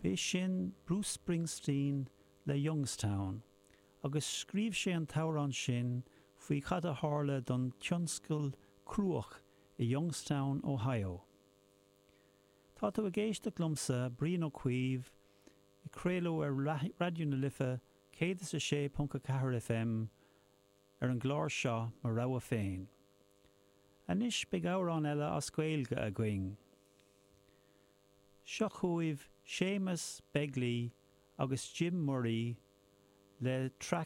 B'é sin Bruce Springsteen le Youngstown agus scríobh sé an t-amhrán sin faoi cad a tharla don tionscal cruach i Youngstown, Ohio. Tá tú ag éisteacht liomsa, Brian Ó Cuív, ag craoladh ar Raidió na Life 106.4 FM ar an gclár seo Mo Rogha Féin. Anois beidh amhrán eile as Gaeilge againn. Seo chugaibh Séamus Begley agus Jim Murray le traic.